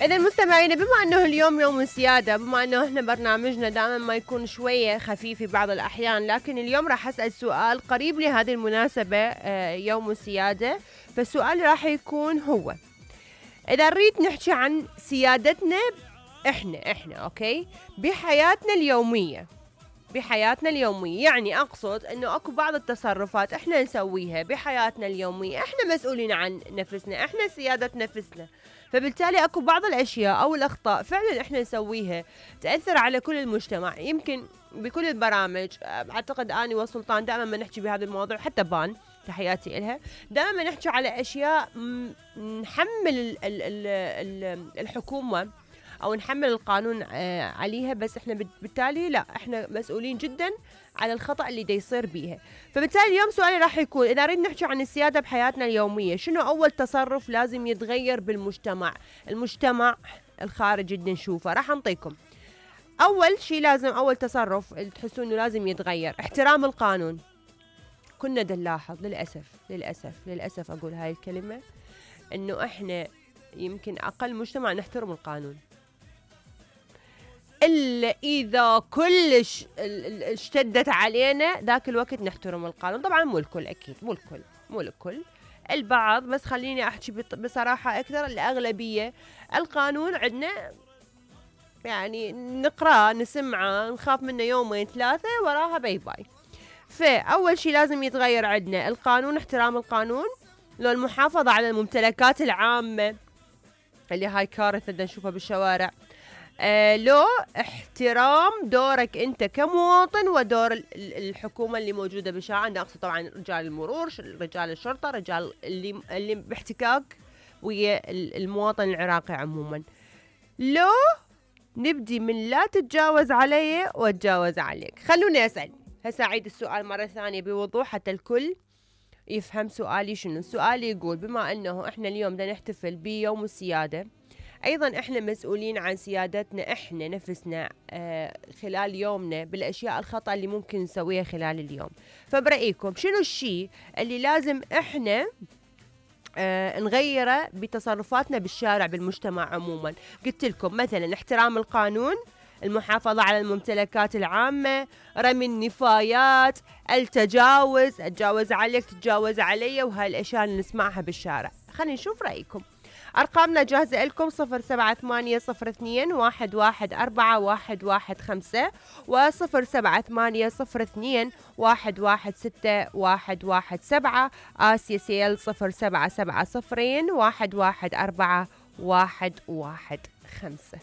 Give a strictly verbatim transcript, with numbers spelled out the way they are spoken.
إذا مستمعينا، بما أنه اليوم يوم السيادة، بما أنه إحنا برنامجنا دائما ما يكون شوية خفيف في بعض الأحيان، لكن اليوم راح أسأل سؤال قريب لهذه المناسبة، يوم السيادة. فالسؤال راح يكون هو: إذا نريد نحكي عن سيادتنا إحنا إحنا أوكي بحياتنا اليومية، بحياتنا اليومية يعني أقصد أنه أكو بعض التصرفات إحنا نسويها بحياتنا اليومية، إحنا مسؤولين عن نفسنا، إحنا سيادة نفسنا. فبالتالي أكو بعض الأشياء أو الأخطاء فعلا إحنا نسويها تأثر على كل المجتمع. يمكن بكل البرامج، أعتقد أني وسلطان دائما ما نحكي بهذا الموضوع، حتى بان تحياتي إلها، دائما ما نحكي على أشياء نحمل الحكومة أو نحمل القانون عليها، بس إحنا بالتالي لا، إحنا مسؤولين جدا على الخطأ اللي دا يصير بيها. فبالتالي اليوم سؤالي راح يكون: إذا نريد نحكي عن السيادة بحياتنا اليومية، شنو أول تصرف لازم يتغير بالمجتمع، المجتمع الخارج اللي نشوفه؟ راح أنطيكم أول شيء لازم، أول تصرف تحسون إنه لازم يتغير، احترام القانون. كنا دا نلاحظ للأسف للأسف للأسف أقول هاي الكلمة، إنه إحنا يمكن أقل مجتمع نحترم القانون، إلا إذا كلش اشتدت علينا ذاك الوقت نحترم القانون. طبعا مو الكل، أكيد مو الكل، مو الكل، البعض، بس خليني أحكي بصراحة أكثر، الأغلبية القانون عندنا يعني نقرأ نسمعه نخاف منه يومين ثلاثة وراها باي باي. فأول شيء لازم يتغير عندنا القانون، احترام القانون. لو المحافظة على الممتلكات العامة اللي هاي كارثة بدنا نشوفها بالشوارع. آه لو احترام دورك انت كمواطن ودور الحكومة اللي موجودة بالشارع، انا اقصد طبعا رجال المرور، رجال الشرطة، رجال اللي اللي باحتكاك ويا المواطن العراقي عموما. لو نبدي من لا تتجاوز علي واتجاوز عليك. خلوني اسأل هسه، اعيد السؤال مرة ثانية بوضوح حتى الكل يفهم سؤالي شنو. سؤالي يقول: بما انه احنا اليوم بدنا نحتفل بيوم السيادة، أيضا إحنا مسؤولين عن سيادتنا إحنا نفسنا آه خلال يومنا بالأشياء الخطأ اللي ممكن نسويها خلال اليوم. فبرأيكم شنو الشيء اللي لازم إحنا آه نغيره بتصرفاتنا بالشارع بالمجتمع عموما؟ قلت لكم مثلا احترام القانون، المحافظة على الممتلكات العامة، رمي النفايات، التجاوز، أتجاوز عليك تتجاوز علي، وهاي الأشياء اللي نسمعها بالشارع. خلينا نشوف رأيكم. أرقامنا جاهزة لكم: صفر سبعة ثمانية صفر اثنين واحد واحد أربعة واحد واحد خمسة وصفر سبعة ثمانية صفر اثنين واحد واحد ستة واحد واحد سبعة. آسيا سيل صفر سبعة سبعة صفرين واحد واحد أربعة واحد واحد خمسة.